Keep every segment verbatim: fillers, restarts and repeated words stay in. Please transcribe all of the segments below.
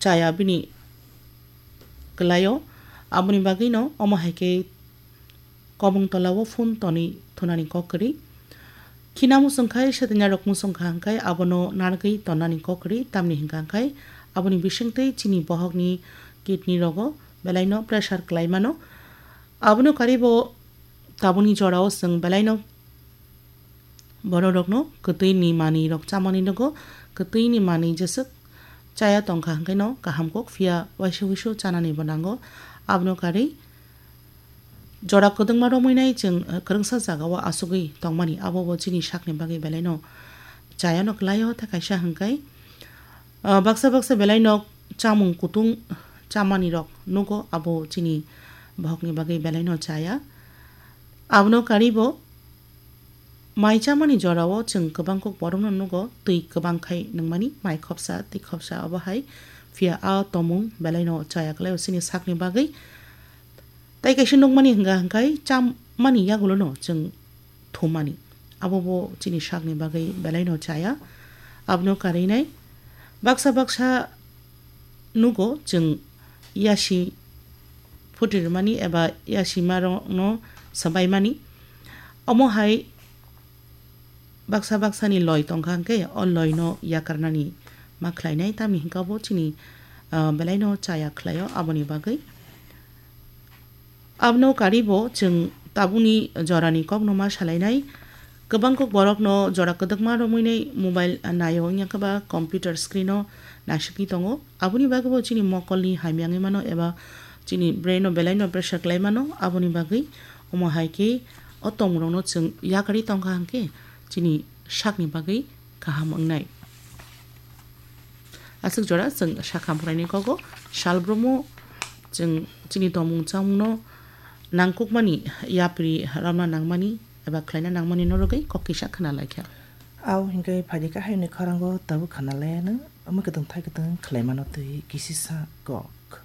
chaya bini kwlaio. Aboni bagwino omo hai khe kobong tolao phone tonwi thunani kok kwrwi. Khina muchung khai, setaina rok muchung kha hwnkhe abono narwgwi tonnani kok kwrwi, tamni hwnkha hwnkhe aboni bisingtwi chini bohokni kidney rogo belaino pressure kwlai mano. Abono karibo tabukni jorao chwng belaino bororokno kwtwini manwirok chamani nogo, kwtwini manwi jeswk chaya tongkha hwnkhe no kaham kok, phiya waisa wuisu chananibo nango. Abono karwi jora kwdwkma romwi nai chwng, eh, kwrwngsa jagao achugwi tongmani, abo bo chini sakni bagwi belaino chayano kwlaio, tei kaisa hwnkhe, eh, baksa baksa belaino chamung kutung chamani rok nugo, abo chini bohokni bagwi belaino chaya. Abono karibo mai chamani jorao chwng kwbang kok borokno nugo, twi kwbang khai nungmani, mai khopsa, twi khopsa, obo hai phiya a tomung belaino chaya kwlaio chini sakni bagwi. Tei kaisa nukmani hwnka hwnkhe chamani yagulono chwng thummani, abo bo chini sakni bagwi belaino chaya. Abono karwi nai baksa baksa nugo chwng yasi phuti rwmani eba yasimarokno swbaimani. Omo hai baksa baksani loi tongkha hwnkhe o loino yakarnani ma khlainai, tamni hwnkhe bo chini, ah, belaino chaya khlaio, aboni bagwi. Abono karibo chwng tabukni jorani kokno ma salainai. Kwbang kok borokno jora kwdwkma romwi nai mobile naio, wngya khe ba computer screen-o naisingwi tongo. Aboni bagwi bo chini mokolni hamya wngwi mano eba chini brain-o belaino pressure kwlai mano. Aboni bagwi omo hai khe o tongmungrokno chwng yakarwi tongkha hwnkhe chini sakni bagwi kaham wngnai. Aswk jora chwng sakha phoraini kogo salbrumo chwng chini tongmung chamungno nangkukmani yapri romna nangmani eba khlaina nangmani norogwi kok kisa khna laikha. Au hinkhe phaidi kahai ni khorango tabuk khna laiano, omo kwtwng thai kwtwng khlaimano twi kisisa kok.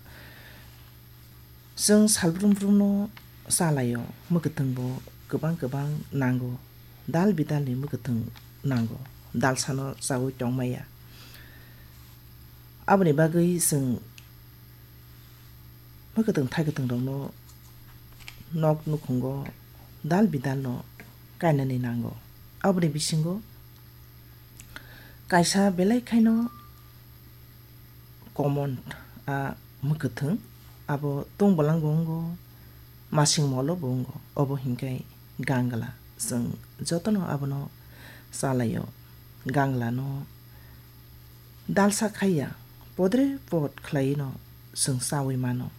Chwng salbrum brumno chalaio, mwkwthwngbo kwbang kwbang nango, dal bidalni mwkwthwng nango, dalsano chaui tongmaya. Aboni bagwi chwng mwkwthwng thaikwthwng rokno nok nukhungo dal bidalno kainani nango. Aboni bisingo kaisa belai khaino common, a, mwkwthwng, abo tungbolangbo wngo, masing molo bo wngo, obo hinkhe gangla. Chwng jotono abono chalaio. Ganglano dalsa khaiya, podre pod khlaiwino chwng chaui mano.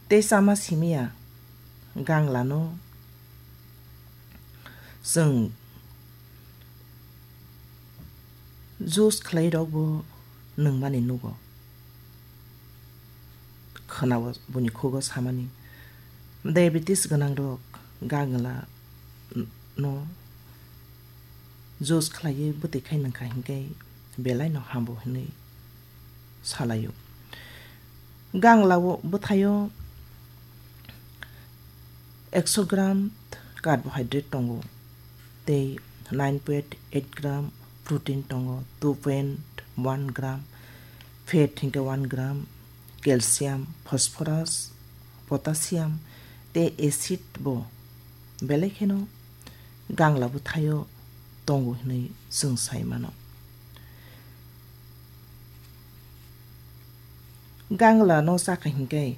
Tei chama simiya ganglano chwng juice khlai rokbo nungmani nugo. Khwnao buini khugo samani, diabetes gwnang rok gangla no juice khlaiwi bwtwi khai nungkha hinkhe belai no hambo hinwi salaio. Ganglao bwthaio ekso gram carbohydrate tongo, tei nine point eight gram protein tongo, two point one gram fat hinkhe one gram calcium, phosphorus, potassium tei acid bo belai kheno gangla bwthaio tongo hinwi chwng sai mano. Gangla no chakha hinkhe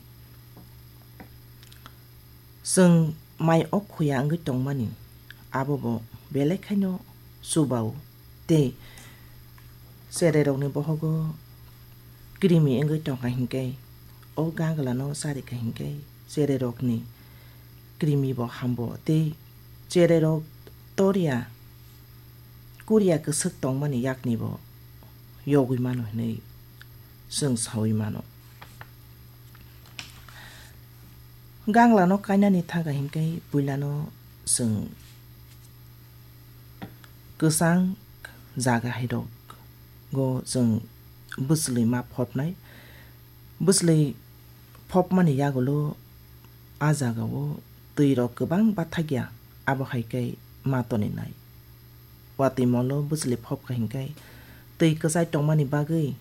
chwng mai o khuya wngwi tongmani, abo bo belai khaino chubao tei cherai rokni bohogo krimi wngwi tongkha hinkhe, o gangla no charikha hinkhe cherai rokni krimi bo hambo tei cherai rok toria kuria kwswk tongmani yakni bo yogwi mano hinwi chwng saui mano. Ganglano kainani thaga hinkhe puilano chwng kwchang jaga hai rok go chwng bwchlwi ma phopnai. Bwchlwi phopmani yagulo a jagao twi rok kwbang bathakya, abo hai khe ma toninai. Watwi molo bwchlwi phopkha hinkhe twi kwchai tongmani bagwi